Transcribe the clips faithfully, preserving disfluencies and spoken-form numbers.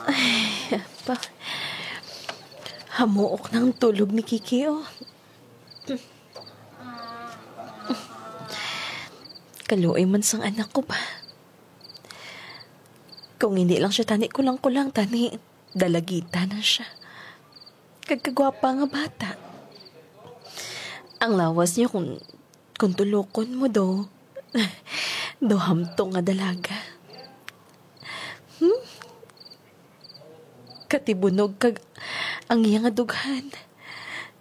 Ay, pa. Hamuok na ang tulog ni Kiki, oh. Kaluoy man sang anak ko ba? Kung hindi lang siya tani kulang-kulang, tani dalagita na siya. Kag kagwapa nga bata. Ang lawas niya kung, kung tulokon mo do. Do hamtong nga dalaga. Hmm? Katibunog kag ang iya nga dughan.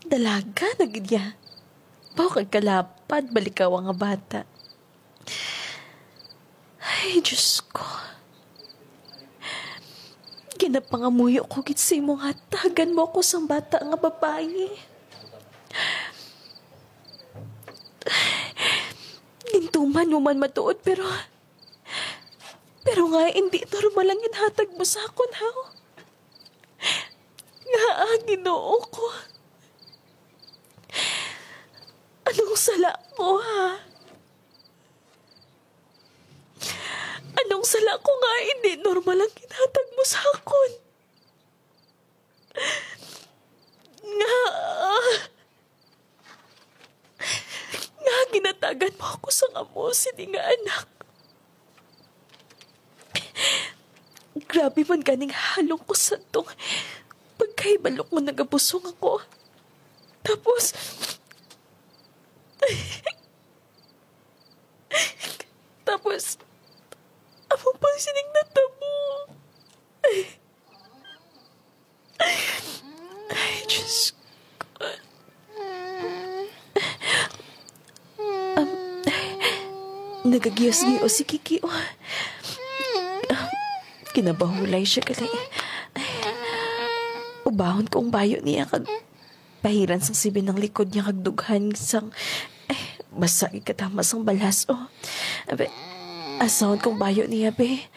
Dalaga na gid niya. Baw kag kalapad, balikawa nga bata. Ay, Diyos ko. Ginapangamuyo ko gid sa imo nga hatagan mo ako sang bata nga babayi. Gintuman mo man matuod, pero, pero nga hindi normal ang ginhatag mo sa akon, ha? Nga, ah, Ginoo ko. Anong sala ko, ha? Anong sala ko nga hindi normal ang ginhatag mo sa akon? Nga, nga ginatagan mo ako sang amo sini nga anak. Grabe man ganing halong ko sa tong pagkahibalo ko nagabusong ako. Tapos, tapos, amo pang sining natabo. Ay, Diyos ko. Um, nagagiyos-giyos si Kiki, oh. Um, kinabahulay siya gali. Ubahon ko ang bayo niya kag pahiran sang sibi ng likod niya kag dughan sang, ay, basa gid katama sang balas, oh. Abi, asahon kong bayo niya, be.